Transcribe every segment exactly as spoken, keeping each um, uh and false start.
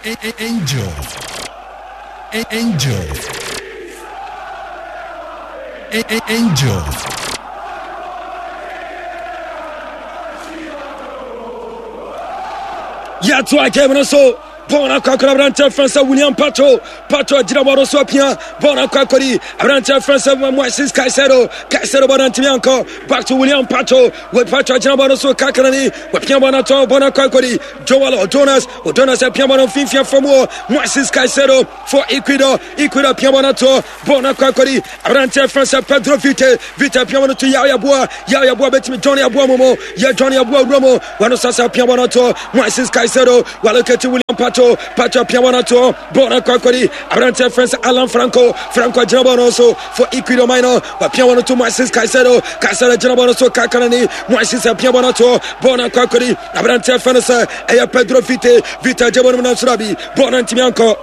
Angel. Angel. Angel. Yɛto a game no so bɔɔl no akɔ akɔda aberanteɛ frɛ sɛ William Pacho. Pacho agyina bɔɔl no so apia bɔɔl no akɔ akɔdi aberanteɛ frɛ sɛ Moises Caicedo. Caicedo bɔɔl no antumi ankɔ. Back to William Pacho. With Pacho agyina bɔɔl no so kakrani wapia bɔɔl no atɔ bɔɔl no akɔ akɔdi Joel Odonas. Odonas apia bɔɔl no mfimfini fam hɔ. Moises Caicedo for Ecuador. Ecuador apia bɔɔl no atɔ bɔɔl no akɔ akɔdi aberanteɛ frɛ sɛ Pedro Vite. Vite apia bɔɔl no to Yao Yeboah. Yao Yeboah bɛtumi Johnny Aboa momo yɛ Johnny Aboa wura mu wɔno sasa apia bɔɔl no atɔ Moises Caicedo waloketi William Pacho. Pacho apia bɔɔl no atɔ bɔɔl no akɔ akɔdi aberanteɛ frɛ sɛ Alan Franco. Franco agyina bɔɔl no so for Ecuador man no wapia bɔɔl no to Moises Caicedo. Caicedo agyina bɔɔl no so kakarani Moises apia bɔɔl no atɔ bɔɔl no akɔ akɔdi aberanteɛ frɛ no sɛ ɛyɛ Pedro Vite. Vite agye bɔɔl no mu nanso dabi bɔɔl no antumi ankɔ.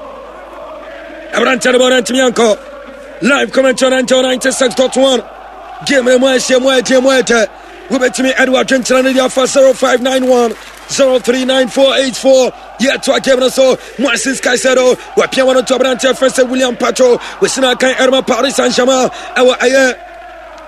Aberanteɛ no bɔɔl no antumi ankɔ. Live commentary on Angel ninety-six point one. Game no mu ahyia mu agye mu agye. Wobɛtumi ɛde wadwenkyerɛ no de afa zero five nine one zero three nine four eight four. Yɛto a game no so Moises Caicedo wapia wɔn to aberanteɛ frɛ sɛ William Pacho. Wɔsina kan ɛrema Paris Saint-Germain ɛwɔ ɛyɛ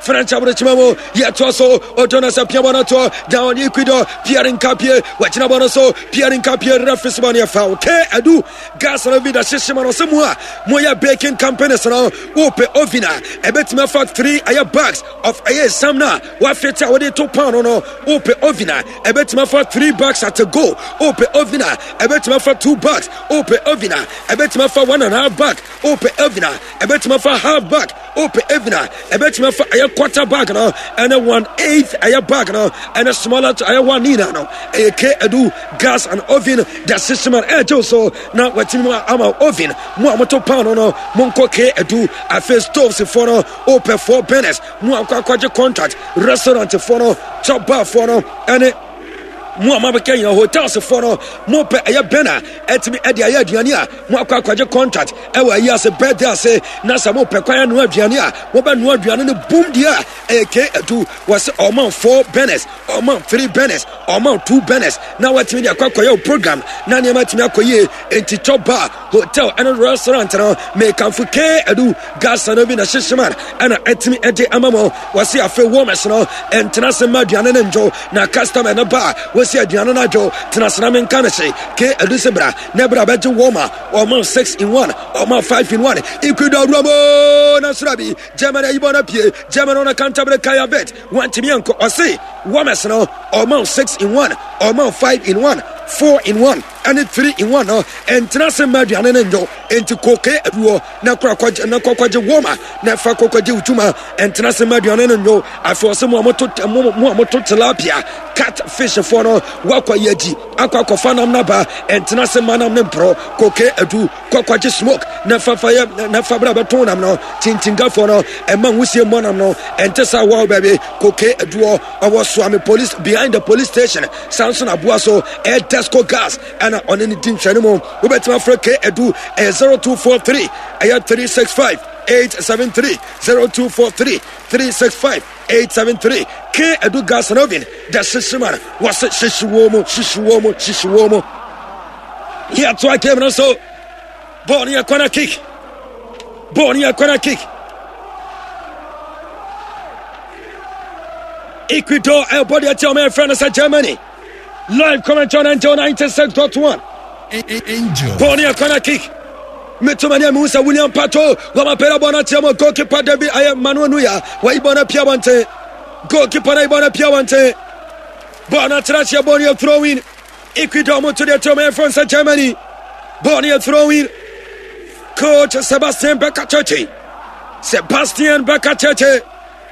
French aburokyima mu. Yɛtoa so Odonas apia bɔ no toɔ down Ecuador. Pierre Nkapie wagyina bɔ no so. Pierre Nkapie referee bɔ no yɛ foul. K Adu gas no bi da hyehye ma no sɛ mu a moyɛ baking companies no wopɛ oven a ɛbɛtumi afa three ɛyɛ bags of ɛyɛ sam no a wafete a wode to pan no no wopɛ oven a ɛbɛtumi afa three bags at a go. Wopɛ oven a ɛbɛtumi afa two bags. Wopɛ oven a ɛbɛtumi afa one and a half bag. Wopɛ oven a ɛbɛtumi afa half bag. Wopɛ oven a ɛbɛtumi afa ɛyɛ quarter bag no ɛne one eighth ɛyɛ bag no ɛne smaller to ɛyɛ one nina no ɛyɛ K Adu gas and oven da system and ɛgye so na watumi mu ama oven mu a moto pan no no monkɔ K Adu. Afei stoves foɔ no wopɛ four burners mu a akɔ akɔgye contract restaurant foɔ no chop bar foɔ no ɛne mu a mabɛka nyina hotels foɔ no mopɛ ɛyɛ burner ɛtumi ɛde ayɛ aduane a mo akɔ akɔgye contract ɛwɔ ayi ase birthday ase na sɛ mopɛ kwan anoa aduane a mobɛnoa aduane no boom deɛ a ɛyɛ K Adu. Wɔsɛ ɔma four burners, ɔma three burners, ɔma two burners na watumi de akɔ akɔyɛ wo program na nneɛma atumi akɔ yie. Enti chop bar, hotel ɛne restaurant no mekamfo K Adu gas no bi na hyehyeman ɛna ɛtumi ɛde ama mo. Wɔsɛ afei warmers no ɛntena ase mma aduane no ndwo na customer no ba a wɔsi aduane no adwo tena ase na menka no hye. K Adu sɛ bra na bra bɛgye warmer ɔma six in one ɔma five in one. Ecuador awura mu na soro bi Germany ayibɔ no pie Germany no kantabere Kaya Bet wantumi ankɔ. Ɔse warmers no ɔma six in one ɔma five in one four in one ɛne three in one no ɛntena ase mma aduane no ndwo. Enti koke aduɔ na kora kɔgye na kɔkɔgye warmer na fa kɔkɔgye wotuma ɛntena ase mma aduane no ndwo. Afei ɔse mo a moto mo mo a moto tilapia cat fish foɔ no wakɔ yɛ agyi akɔ akɔfa nam naba ɛntena ase mma nam ne mporɔ. Koke adu kɔkɔgye smoke na fa fa yɛ na fa bra bɛtɔn nam no tintingafoɔ no ɛma nwusie mmɔ nam no ɛnte saa wɔn baabi. Koke aduɔ ɔwɔ Suame police behind the police station sanso na aboa so ɛyɛ Desco gas ɛna ɔne ne di nhwɛne mu. Wobɛtumi afrɛ K Adu ɛyɛ zero two four three ɛyɛ three six five eight seven three zero two four three three six five eight seven three. K Adu gas and oven da hyehye ma no wɔse hyehye wɔ mu hyehye wɔ mu hyehye wɔ mu. Yɛto a game no so bɔɔl no yɛ corner kick bɔɔl no yɛ corner kick. Ecuador ɛbɔ deɛ tia ɔmo ɛfrɛ no sɛ Germany. Live commentary on Angel ninety-six point one. Angel. Bɔɔl no yɛ corner kick. Metomani a mehu sɛ William Pacho wamapɛrɛ bɔɔl no atia mu. Goalkeeper David ayɛ Manuel Neuer wayi bɔɔl no apia abɔnten. Goalkeeper no ayi bɔɔl no apia abɔnten. Bɔɔl no atena aseɛ, bɔɔl no yɛ throw in. Ecuador mo to deɛ tia ɔmo ɛfrɛ no sɛ Germany. Bɔɔl no yɛ throw in. Coach Sebastian Beccacece. Sebastian Beccacece.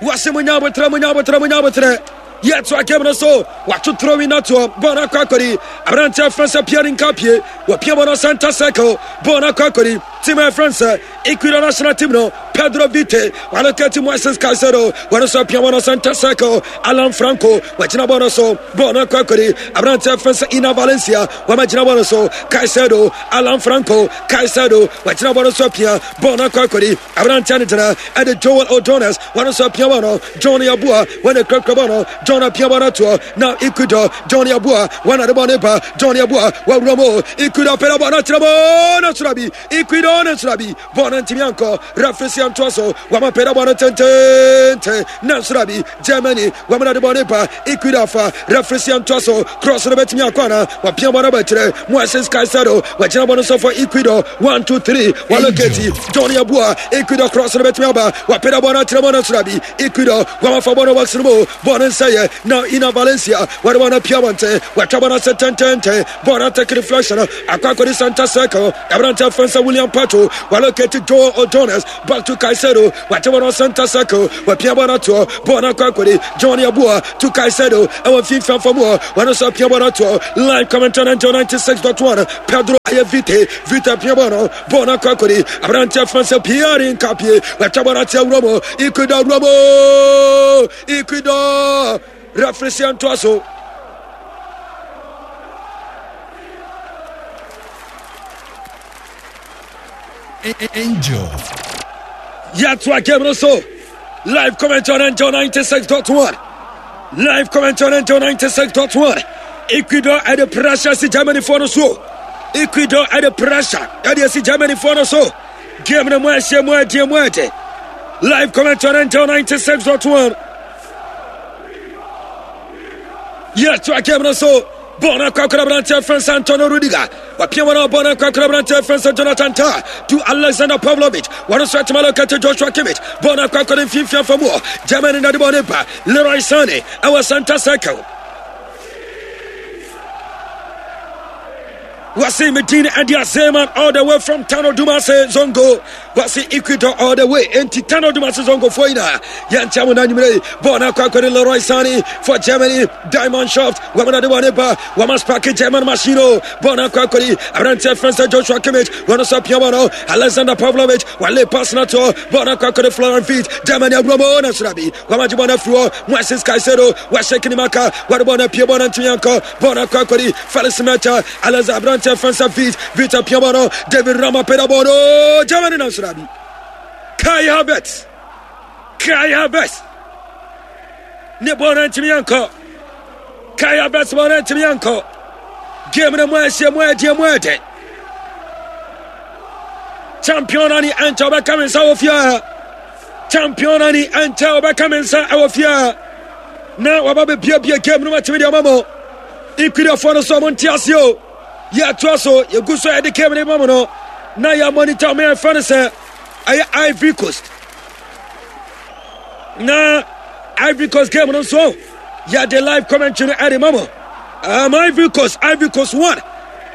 Wase mo nya abotrɛ, mo nya abotrɛ, mo nya abotrɛ. Yɛto a game no so wato throw in atoɔ. Bɔɔl no akɔ akɔdi aberanteɛ frɛ sɛ Pierre Nkapie wapia bɔɔl no center circle. Bɔɔl no akɔ akɔdi team a ɛfrɛ sɛ Ecuador national team no Pedro Vite waloketi Moises Caicedo wɔno so apia wɔno center circle Alan Franco wagyina bɔ no so bɔɔl no akɔ akɔdi aberanteɛ fɛn sɛ Ina Valencia wama gyina bɔ no so Caicedo Alan Franco Caicedo wagyina bɔ no so apia bɔɔl no akɔ akɔdi aberanteɛ no gyina ɛde Joel Odones wɔno so apia bɔ no John Yabua wɔne kurakura bɔ no John apia bɔ no atoɔ na Ecuador John Yabua wɔn ade bɔ ne ba John Yabua wɔawura mu Ecuador pɛrɛ bɔ no akyerɛ bɔ no soro bi Ecuador no soro bi bɔɔl no ntumi ankɔ referee si antoa so wɔama pɛrɛ bɔ no tententen na soro bi Germany wɔn ade bɔ ne ba Ecuador fa referee si antoa so cross no bɛtumi akɔ ana wɔapia bɔ no abɛkyerɛ Moises Caicedo wɔgyina bɔ no so for Ecuador one two three wɔloketi John Yabua Ecuador cross no bɛtumi aba wɔapɛrɛ bɔ no akyerɛ bɔ no soro bi Ecuador wɔafa bɔ no box no mu bɔɔl no nsɛyɛ na Ina Valencia wɔde bɔ no apia wɔnten wɔatwa bɔ no ase tententen bɔɔl no atake reflection akɔ akɔdi center circle aberanteɛ fɛn sɛ William Pacho wɔalocate Joel O'Jonas back to Caicedo wɔate bɔ no center circle wɔapia bɔ no atoɔ bɔɔl no akɔ akɔdi John Yabua to Caicedo ɛwɔ mfimfini fam hɔ wɔno nso apia bɔ no atoɔ line commentary ninety six dot one Pedro ayɛ Vite Vite apia bɔ no bɔɔl no akɔ akɔdi aberanteɛ fɛn sɛ Pierre Nkapie wɔatwa bɔ no ate awura mu Ecuador awura mu Ecuador referee si antoa so Angel. Yɛatoa game no so live comment on Angel ninety-six point one. Live comment on Angel ninety-six point one. Ecuador at the pressure si Germany for no so. Ecuador at the pressure at the si Germany for no so. Game no mu ɛhyɛ mu ɛdeɛ mu ɛde. Live comment on Angel ninety-six point one. Yɛtoa game no so. Bɔɔl no akɔ akɔda aberanteɛ fɛn sɛ Antonio Rudiger wapia wɔn a bɔɔl no akɔ akɔda aberanteɛ fɛn sɛ Jonathan Tah to Alexander Pavlovich wɔn nso atuma lɔkɛte Joshua Kimmich bɔɔl no akɔ akɔda mfimfini afa mu hɔ Germany na de bɔɔl no ba Leroy Sané ɛwɔ center circle Wasi Medina and Zeman all the way from Tano Dumase Zongo. Wasi Ecuador all the way. Enti Tano Dumase Zongo for ina. Yantia mo nanyumre. Bona kwa Leroy Sané for Germany. Diamond Shaft. Wamana de Waneba. Wamas Paki German Machino. Bona kwa kwari. Abrante Fencer Joshua Kimmich. Wano sa Piamano. Alexander Pavlovich. Wale Pasnato. Bona kwa kwari Florian Feet. Germany Abramo na Surabi. Wamajibona Fuo. Moises Caicedo. Washekinimaka. Wadabona Piabona Ntiyanko. Bona kwa kwari. Felix Meta. Alexander Abrante Fencer Feet. Victor Piamano. David Rama Pedabono. Germany na Surabi. Kai Havertz. Kai Havertz. Ne bɔɔl ntumi ankɔ. Kai Havertz bɔɔl ntumi ankɔ. Game no mu ɛhyɛ mu ɛdeɛ mu ɛdɛ. Champion ani ɛnkyɛ ɔbɛka me nsa wɔ fie. Champion ani ɛnkyɛ ɔbɛka me nsa ɛwɔ fie. Na waba bɛbiabia game no matumi deɛ ɔma mo. Ecuadorfoɔ no so ɔmo nte ase o. Yɛatoa so yɛgu so yɛde game no ma mo no. Na yɛ monitor ɔmo yɛfrɛ no sɛ ɛyɛ Ivory Coast. Na Ivory Coast game no nso yɛde live commentary no ɛde ma mo. Um, Ivory Coast, Ivory Coast one,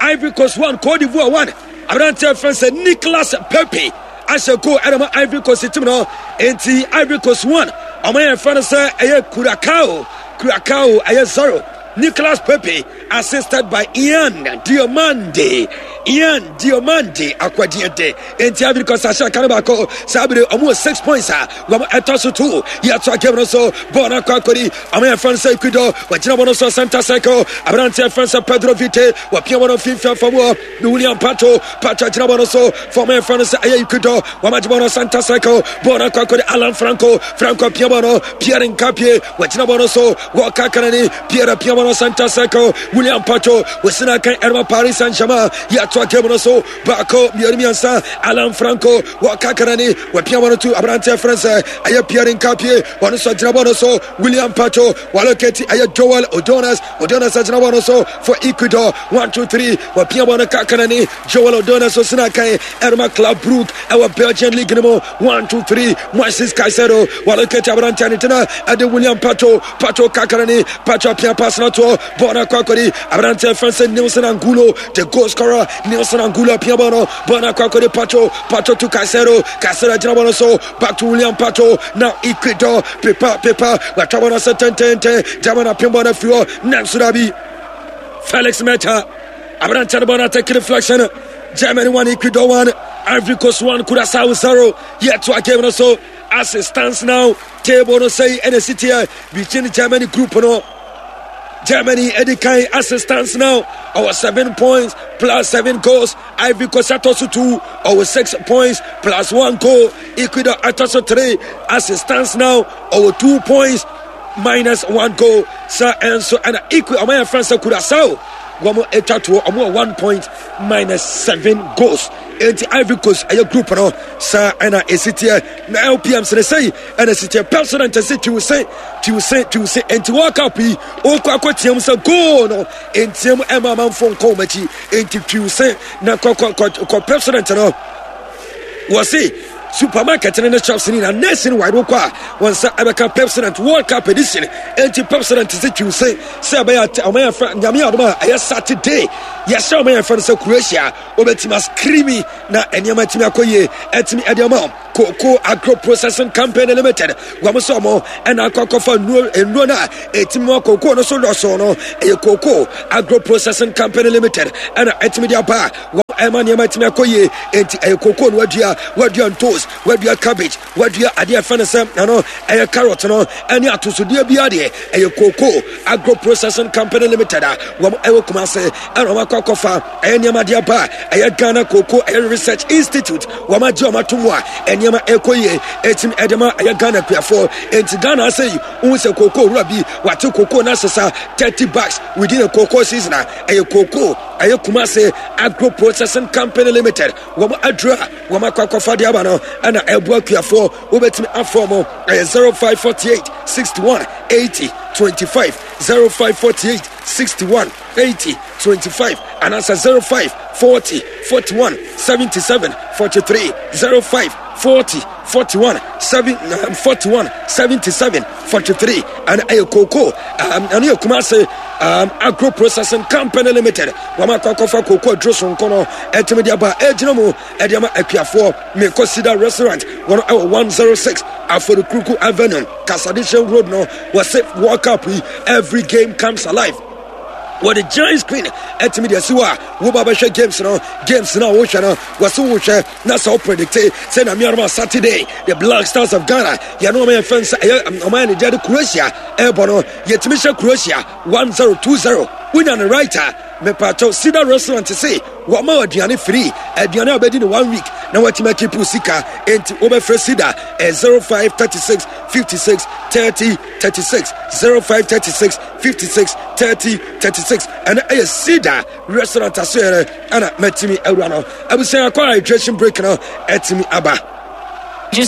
Ivory Coast one, Cote d'Ivoire one. Aberanteɛ fɛn sɛ Nicolas Pepe ahyɛ goal ɛde ma Ivory Coast team no. Enti Ivory Coast one, ɔmo yɛ fɛn sɛ ɛyɛ Curacao, Curacao ɛyɛ zero. Nicolas Pepe assisted by Ian Diomande. Ian Diomande akwadiente. Enti Ivory Coast ahyɛ aka no baako. Saa bere ɔmo wɔ six points a wɔn ɛtɔ so two. Yɛtoa game no so. Bɔɔl no akɔ akɔdi. Ɔmo yɛ fɛn sɛ Ecuador. Wɔgyina bɔ no so center circle. Aberanteɛ fɛn sɛ Pedro Vite. Wɔpia wɔn mfimfini afa mu hɔ. Ne William Pacho. Pacho gyina bɔ no so. Fɔm yɛ fɛn sɛ ɛyɛ Ecuador. Wɔn agye bɔ no center circle. Bɔɔl no akɔ akɔdi Alan Franco. Franco pia bɔ no. Pierre Nkapie. Wɔgyina bɔ no so. Wɔka kanani. Pierre pia bɔ no center circle. William Pacho. Wɔsina kan ɛrema Paris Saint-Germain. Yɛtoa game no so. Baako mmienu mmiɛnsa. Alan Franco. Wɔka kanani. Wɔpia bɔ no to aberanteɛ frɛ sɛ ɛyɛ Pierre Nkapie. Wɔn nso gyina bɔ no so. William Pacho. Wɔalocate ɛyɛ Joel Odones. Odones gyina bɔ no so for Ecuador. One two three. Wɔpia bɔ no ka kanani. Joel Odones osina kan ɛrema Club Brugge ɛwɔ Belgian League no mu. One two three. Moises Caicedo. Wɔalocate aberanteɛ ne tena ɛde William Pacho. Pacho ka kanani. Pacho pia pass no toɔ. Bɔɔl no akɔ akɔdi aberanteɛ frɛ sɛ Nelson Angulo. The goal scorer Nelson Angulo pia bɔɔl no. Bɔɔl no akɔ akɔdi Pacho. Pacho to Caicedo. Caicedo gyina bɔɔl no so. Back to William Pacho. Now Ecuador. Pepa pepa. Watwa bɔɔl no sɛ tɛntɛntɛn. German apem bɔɔl no afiri hɔ. Nanso dabi. Felix Meta. Aberanteɛ no bɔɔl no atake reflection. Germany one, Ecuador one. Ivory Coast one, Curacao zero. Yet to a game no so as it stands now, table no say ɛna si teɛ between Germany group no. Germany edi kan as it stands now, ɔwɔ seven points plus seven goals. Ivory Coast atɔ so two, ɔwɔ six points plus one goal. Ecuador atɔ so three, as it stands now, ɔwɔ two points minus one goal. Sɛ ɛnso ɛna Ecuador ɔmo yɛ fɛn sɛ Curacao wɔn atwa toɔ, ɔmo wɔ one point minus seven goals. Enti Ivory Coast ɛyɛ group no saa ɛna esi teɛ na L P M sere sɛyi ɛna esi teɛ. President ɛsɛ twiw se twiw se twiw se. Enti World Cup yi okɔ akɔ team sɛ goal no ntiam ɛma amanfo nkɔ wɔn akyi. Enti twiw se na kɔ kɔ kɔ kɔ president no wɔsi supermarket ne ne shops ni na nationwide wokɔ a wɔn nsa ɛbɛka Pepsodent World Cup edition. Enti Pepsodent sɛ twiw se sɛ ɛbɛyɛ ɔmo yɛ fɛ Nyame adom a ɛyɛ Saturday yɛhyɛ ɔmo yɛ fɛ no sɛ Croatia wobɛtumi ascream na nneɛma atumi akɔ yie ɛtumi ɛde ama. Cocoa Agro Processing Company Limited wɔn sɛ ɔmo ɛna akɔ akɔfa nnuro nnuro no a ɛtumi ma cocoa no so dɔso no. Ɛyɛ Cocoa Agro Processing Company Limited ɛna ɛtumi de aba a wɔn ɛma nneɛma atumi akɔ yie. Enti ɛyɛ cocoa no, wadua wadua ntos, wadua cabbage, wadua adeɛ ɛfɛ no sɛ ɛno ɛyɛ carrot no ɛne atosodeɛ bi adeɛ. Ɛyɛ Cocoa Agro Processing Company Limited a wɔn ɛwɔ Kumase ɛna wɔn akɔ akɔfa ɛyɛ nneɛma de aba. Ɛyɛ Ghana Cocoa ɛyɛ Research Institute wɔn agye wɔn ato mu a nneɛma ɛkɔ yie ɛtumi ɛde ma ɛyɛ Ghana kuafoɔ. Enti Ghana ase yi ohun sɛ cocoa wura bi wate cocoa na asesa thirty bags within a cocoa season a ɛyɛ Cocoa ɛyɛ Kumase Agro Processing Company Limited wɔn aduro a wɔn akɔ akɔfa de aba no ɛna ɛboa kuafoɔ. Wobɛtumi afɔ mo ɛyɛ zero five forty eight sixty one eighty twenty five, zero five forty eight sixty one eighty twenty five, anaasɛ zero five forty forty one seventy seven forty three, zero five forty forty one seven forty one seventy seven forty three. Ɛna ɛyɛ cocoa ɛno yɛ Kumase um, Agro Processing Company Limited wɔn akɔ akɔfa cocoa aduro sonko no ɛtumi de aba ɛgyina mu ɛde ama akuafoɔ. Mekɔ Cedar Restaurant, wɔn ɛwɔ one zero six Aforikuruku Avenue, Kasadishan Road no. Wɔsɛ World Cup yi, every game comes alive. Wɔde giant screen ɛtumi de asi hɔ a woba bɛhwɛ games no. Games no a wohwɛ no, wɔsɛ wohwɛ na sɛ wo predict sɛ na mearoma Saturday the Black Stars of Ghana yɛne ɔma yɛ fɛn sɛ ɛyɛ ɔma yɛ ne deɛ de Croatia ɛbɔ no, yɛtumi hyɛ Croatia one zero two zero, wonya no right a, mepatɔ Cedar Restaurant se wɔma aduane free, aduane a wobɛdi no one week na watumi akeep sika. Enti wobɛfrɛ Cedar ɛ zero five thirty six fifty six thirty thirty six, zero five thirty six fifty six thirty thirty six. Ɛno ɛyɛ Cedar Restaurant asoɛrɛ ɛna matumi awura no. Abusua, akɔ hydration break no ɛtumi aba.